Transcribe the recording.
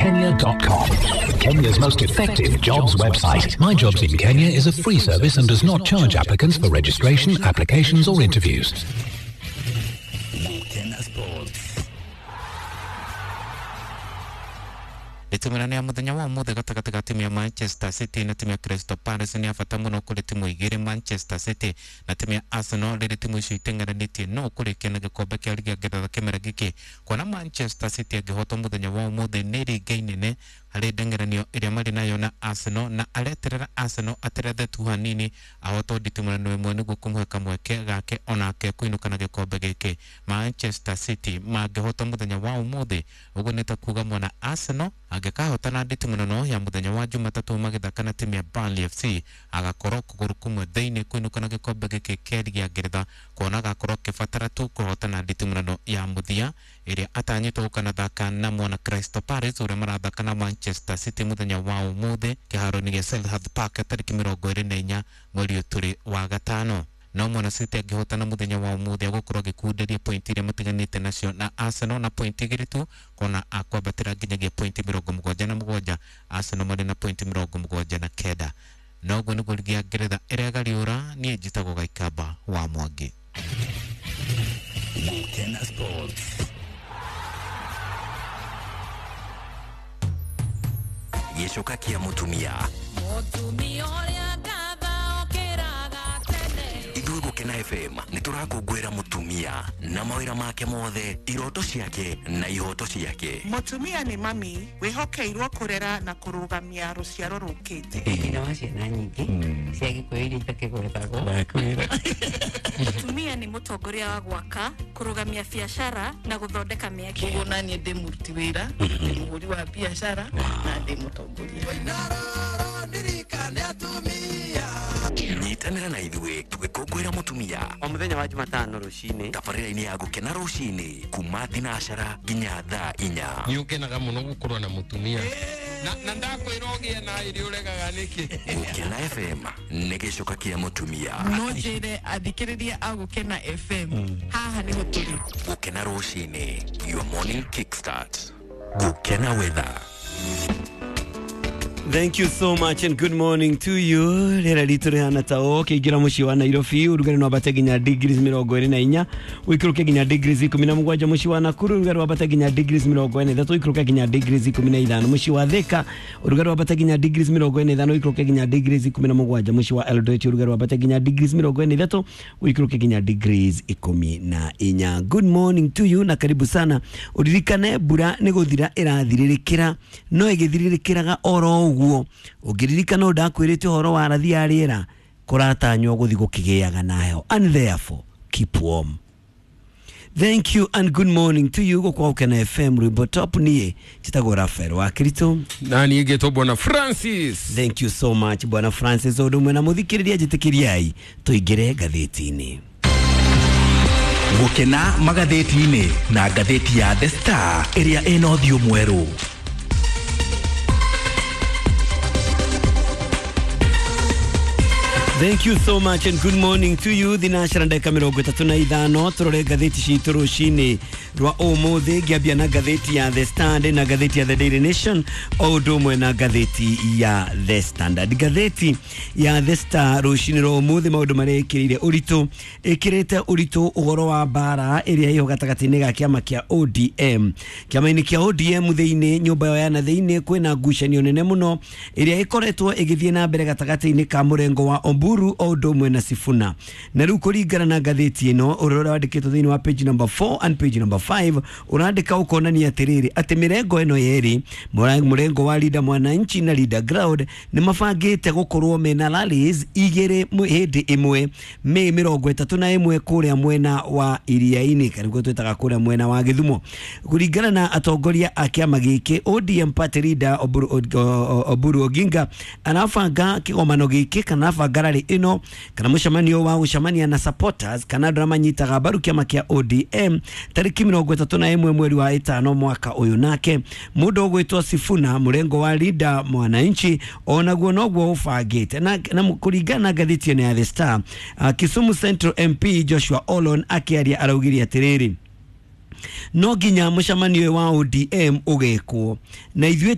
Kenya.com. Kenya's most effective jobs website. My Jobs in Kenya is a free service and does not charge applicants for registration, applications or interviews. Nditimũrano ya muthenya wa umuthi gatagati ga timu ya Manchester City na timu ya Crystal Palace ni ya bata muno kuri timu igiri, Manchester City na timu ya Arsenal, riri timu icio iteng'eranĩtie no kũrĩkia na gĩkombe kĩa ligi ya Ngeretha kĩmera gĩkĩ. Kuona Manchester City angĩhotwo mũthenya wa ũmũthĩ nĩ ringa inene harĩ ndeng'eranio ĩrĩa marĩ nayo na Arsenal, na areterera Arsenal aterethe tu hanini ahotwo nditimũrano ĩmwe nĩguo kũmũhe kamweke gake onake kũinũka na gĩkombe gĩkĩ. Manchester City mangĩhotwo mũthenya wa ũmũthĩ, ũguo nĩ ta kuga mwana Arsenal angĩkahotana nditimũrano ya mũthenya wa Jumatatũ magĩthaka na timu ya Burnley FC, agakorwo kũgũrũ kũmwe thĩinĩ kũinũka na gĩkombe gĩkĩ kĩa ligi ya Ngeretha, kuona agakorwo akĩbatara tu kũhotana nditimũrano ya mũthia ĩrĩa atanyĩtwo gũkanathaka na mwana Crystal Palace ũrĩa marathaka na Manchester City mũthenya wa ũmũthĩ kĩharo-inĩ gĩa Selhurst Park tarĩki 24 mweri ũyũ tũrĩ wa gatano. No mwana City angĩhotana mũthenya wa ũmũthĩ agũkorwo agĩkunderia pointi iria matiganĩte nacio na Arsenal na pointi igĩrĩ tu, kuona akwambatĩra nginyagia pointi 77, Arsenal marĩ na pointi 79. Na ũguo nĩguo ligi ya Ngeretha ĩregariũra. Niĩ njĩtagwo Gaikamba wa Mwangi. Gukena Sports. Gĩcoka kĩa mũtumia. Mũtumia ũrĩa ngatha okĩraga tene. Ithuĩ Gũkena FM nĩ tũrakũngũĩra mũtumia na mawĩra make mothe, iroto ciake na ihoto ciake. Mũtumia nĩ mami wĩhokeirwo kũrera na kũrũgamia rũciaro rũkĩte. Nyina wa ciana nyingĩ cia Gĩkũyũ iria itakĩgwetagwo. Mũtumia nĩ mũtongoria wa gwaka, kũrũgamia biacara na gũthondeka mĩeke. Koguo naniĩ ndĩ mũruti wĩra, ndĩ mũhũri wa biacara na ndĩ mũtongoria. Nyitanĩra na ithuĩ tũgĩkũngũĩra mũtumia o mũthenya wa Jumatano rũcinĩ, tabarĩra-inĩ ya Gũkena rũcinĩ kuma thinacara nginya thaa inya. Nĩ ũkenaga mũno gũkorwo na mũtumia na ndakwĩra ũgĩe na irio ũregaga nĩkĩ. Gũkena FM nĩ gĩcoka kĩa mũtumia. No njĩre athikĩrĩria a Gũkena FM haha nĩho tũrĩ. Gũkena rũcinĩ, your morning kickstart. Gũkena weather. Thank you so much and good morning to you. Rĩera ritũ rĩhana ta ũũ ũkĩingĩra mũciĩ wa Nairobi ũrugarĩ no wambate nginya degrees 24, ũikũrũke nginya degrees 17. Mũciĩ wa Nakuru ũrugarĩ wambate nginya degrees 43, ũikũrũke nginya degrees 15. Mũciĩ wa Thika ũrugarĩ wambate nginya degrees 45, ũikũrũke nginya degrees 17. Mũciĩ wa Eldoret ũrugarĩ wambate nginya degrees 43, ũikũrũke nginya degrees 14. Good morning to you na karibu sana. Ũririkane mbura nĩ gũthira ĩrathirĩrĩkĩra, no ĩgĩthirĩrĩkĩraga oro ũguo. Ũngĩririkana ũndũ ndakwĩrĩte ũhoro wa rathi ya rĩera, kũratanywo gũthiĩ gũkĩgĩaga na heho, and therefore keep warm. Thank you and good morning to you. Gũkũ Gũkena FM rwĩmbo top. Niĩ njĩtagwo Rafael wa Kirito. Na niĩ ngĩtwo Bwana Francis. Thank you so much Bwana Francis. Ũndũ ũmwe na mũthikĩrĩria, njĩtĩkĩriai tũingĩre ngathĩti-inĩ. Gũkena magathĩti-inĩ na ngathĩti ya The Star ĩrĩa ĩna ũthiũ mwerũ. Thank you so much and good morning to you. Thinacara ndagĩka 35, tũrore ngathĩti citũ rũcinĩ rwa ũmũthĩ. Ngĩambia na ngathĩti ya The Standard na ngathĩti ya The Daily Nation o ũndũ ũmwe na ngathĩti ya The Standard. Ngathĩti ya The Star rũcinĩ rwa ũmũthĩ maũndũ marĩa ĩkĩrĩire ũritũ, ĩkĩrĩte ũritũ ũhoro wa mbara ĩrĩa ĩho gatagatĩ-inĩ ga kĩama kĩa ODM. Kĩama-inĩ kĩa ODM thĩinĩ, nyũmba yao ya na thĩinĩ, kwĩna ngucanio nene mũno ĩrĩa ĩkoretwo ĩgĩthiĩ na mbere gatagatĩ-inĩ ka mũrengo wa Oburu o ũndũ ũmwe na Sifuna. Na rĩu kũringana na ngathĩti ĩno, ũrĩa ũrandĩkĩtwo thĩinĩ wa page number 4 and page number 5, ũrandĩka ũkonania atĩrĩrĩ atĩ mĩrengo ĩno yerĩ, mũrengo wa Linda Mwananchi na Linda Ground, nĩ mabangĩte gũkorwo mena rallies igĩrĩ hĩndĩ ĩmwe Mĩĩ 31 kũrĩa mwena wa Iriainĩ, kana nĩguo twĩtaga kũrĩa mwena wa Gĩthumo. Kũringana na atongoria a kĩama gĩkĩ, ODM party leader Oburu Oginga arabanga kĩgomano gĩkĩ kana arabanga rally ĩno kana mũcemanio wa gũcemania na supporters kana andũ arĩa manyitaga mbaru kĩama kĩa ODM tarĩki 31 mweri wa ĩtano mwaka ũyũ. Nake mũndũ ũgwĩtwo Sifuna mũrengo wa Linda Mwananchi onaguo noguo ũbangĩte. Na kũringana na ngathĩti ĩno ya The Star, Kisumu Central MP Joshua Olon akĩaria araugire atĩrĩrĩ, No nginya mũcemanio ũyũ wa ODM ũgekwo na ithuĩ.